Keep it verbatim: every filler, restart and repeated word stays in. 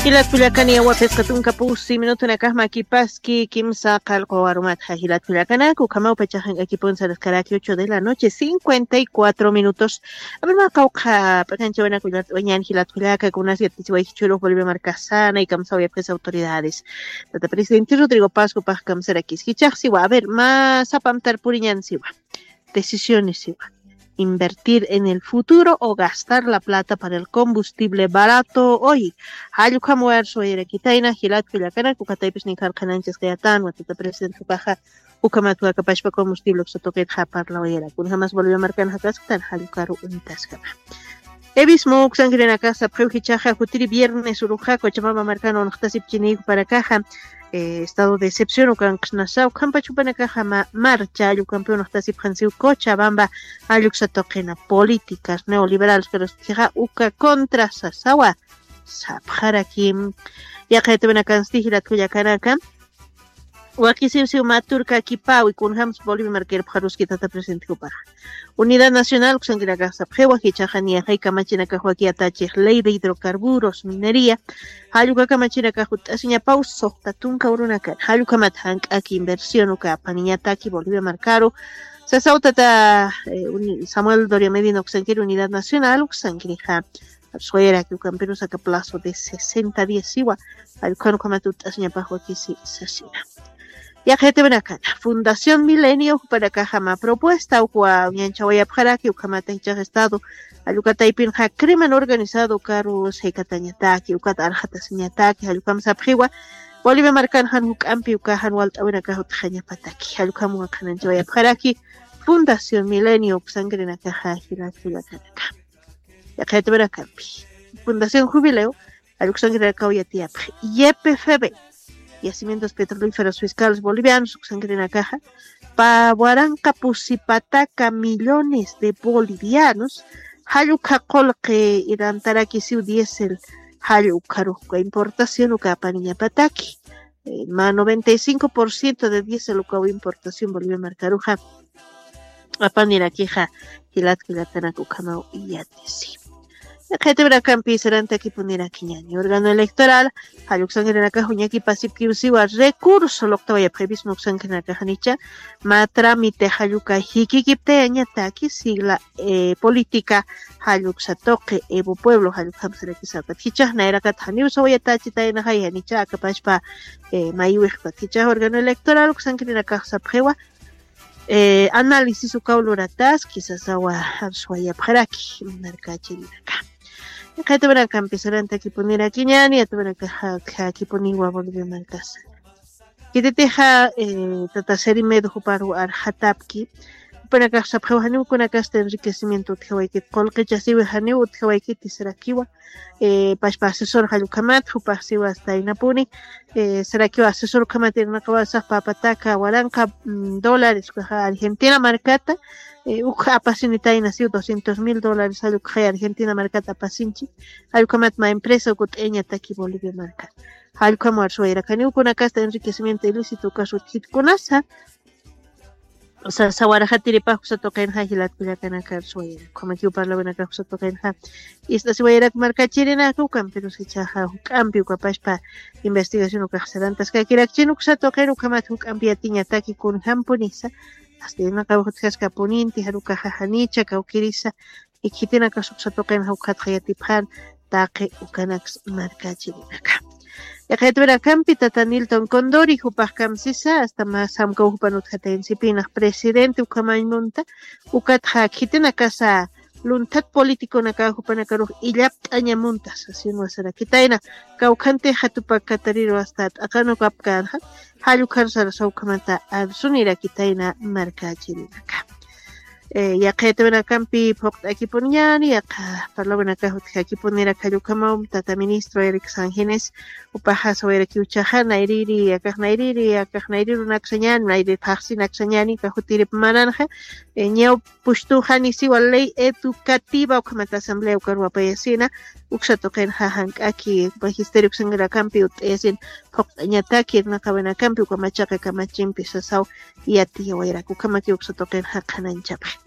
Jilat kullakani, yawa phisqa tunka pusi minutunakax makipaski kimsa qallqu warumatxa. Jilat kullakanaka, ukhamaw pachaxa jank'akipun saraskaraki ocho de la noche, cincuenta y cuatro minutos. A ver, mä qawqha p'iqanchawinak uñan jilat kullaka, kunas yatkichiwayki churux Bolivia markasana y kamsawayapxis autoridades. Tata presidente Rodrigo Pascu pax kamsarakis jichaxsiwa. A ver, mä sapamtar puriñansiwa. Decisiones siwa. Invertir en el futuro o gastar la plata para el combustible barato hoy. Jallukam warsuwayarakitayna jilat kullakanak, ukataypis ninkarqananchis qayatan watata presidente paxa. Ukamat wakapashpa combustible uksa tuqitxa parlawayara. Kunjamas Bolivia markan jakasktan jallukaru unitaskama. Evismo uksankirinakaxa sapxiw jichaxa jutiri viernes uruxa Cochabamba markan unxtasipchiniyku para kaxa. Estado de excepción ukanqsnasa ukampach jupanakaxa marcha allukampi unxtasipxansiw Cochabamba. Alluksa tuqina políticas neoliberales pero utjixa uka contra sasawa. Sapxarakim. Yaqaytawinakansti jilat kullakanaka. Wakisiwsiw mä turkakipawi kunjams Bolivia markirpxaruski tata presidente jupaxa. Unidad nacional uksankinakax sapxiwa jichaxa niyaxay kamachinakax waki atachix ley de hidrocarburos minería. Jallukakamanchirakax ut'asiñapaw suxta tunka urunakan jallukamat jank'aki inversión uka apaniñataki Bolivia markaru. Sasaw tata samuel doria medina uksankiri unidad nacional uksankirixa. Suwayraki ukampirus aka plazo de sesenta dias siwa. Jallukhan ukhamat ut'asiñapax wakisi sasina. Yaqaytawinakana fundación milenio jupanakaxa mä propuesta ukwa uñanchawayapxaraki ukhamata jichax estado. Jallukataypinxa crimen organizado ukaru saykatañataki ukat arxatasiñataki jallukam sapxiwa. Bolivia markan jan juk'ampi uka jan walt'awinakax utjañapataki jallukam waqhananchawayapxaraki. Fundación milenio uksankirinakaxa jilat kullakanaka. Yaqaytawinakampi fundación jubileo jalluksankirinakaw yatiyapxi. Ypfb, yacimientos petrolíferos fiscales bolivianos uksankirinakaxa. Pä waranqa pusipataka millones de bolivianos jallukha qulqi irantarakisiw diésel. Jallukharux uka importación uka apaniñapataki. Mä noventa y cinco por ciento de diésel ukaw importación bolivia markaruxa. Apanirakixa jilat kullakanak ukhamaw yatisi. Yaqaytawinakampi sarantakipunirakiñani órgano electoral. Jalluksankirinakax uñakipasipkiwsiwa recurso luqtawayapxipisma uksankirinakaxnicha. Mä tramite jalluka jikikiptayañataki sigla política. Jalluksa tuqi evo pueblo jallukhamsarakisapat jichax nayrakat janiw sawayatachitaynaxay janicha akapashpa. Maywixpat jichax órgano electoral uksankirinakax sapxiwa. Análisis ukaw lurataski sasawa. Arsuwayapxaraki markachirinaka. Qhaytawinakampi sarantakipunirakiñani atawanakaxakipuniwa bolivia markasa. Kititixa tata seri medo juparu arxatapki. Jupanakax sapxiw janiw kunakasta enriquecimiento utjawaykit qulqichasiwi janiw utjawaykiti sarakiwa. Pashpa asesor jallukhamat jupaxsiwa asta inapuni. Sarakiwa asesor ukhamat irnaqawasax papataka waranqa dólares ukaxa argentina markata. Ukxa apasinitayna siw doscientos mil dólares jallukxay argentina markata apasinchi. Jallukhamat ma empresa ukut'ayañataki bolivia markata. Jallukhamwar suwayrakaniw kunakasta enriquecimiento ilícito ukasutjit kunasa. Sawaraxatiripax uksatuqinxa jilatkullakanakar suwayaraku jamakiw parlawinakax uksatuqinxa. Ist'asiwayarak markachirinaka ukampirus ichaxa juk'ampi ukapashpa investigación ukaxsarantaskakirakchin uksatuqin ukhamat juk'ampi yatiñataki kunjampunisa. Asta irnaqawix utjaskapuninti jarukaxa janicha kawkirisa. Ikhitinakas uksatuqinxa ukhatxa yatipxan taqi ukanaks markachirinaka. Iqhaytwirakampi tata nilton condori jupax kamsisa asta mä samkaw jupan utjatayansipinax presidente ukhamañ munta. Ukatxa khitinakasa lunthat politiconaka jupanakarux illapt'aña munta sasinwa sarakitayna. Kawkhantixa tupak katariru asta t'aqanukapkänxa. Jallukharusarasa ukhamata arsunirakitayna markachirinaka. Yaqhaytawinakampi phuqt'akipuniñani yaqa parlawinakax utjakipunirak jallukamaw tata ministro eric sangenes. Upaxa sawayrakiwchaxa nayriri akax nayriri akax nayrirunaksañani nayri phaxsinaksañani kaxutirip mananxa. Ñaw pushtuxani siwa ley educativa ukhamata asamblea ukaruwapayasina. Uksatuqinxa jank'aki magisterio uksanrakampi ut'ayasin phuqt'añataki irnaqawinakampi ukamachaqa kamachimpi sasaw. Yatiyawayraku ukhamaki uksatuqinxa qhananchapxi.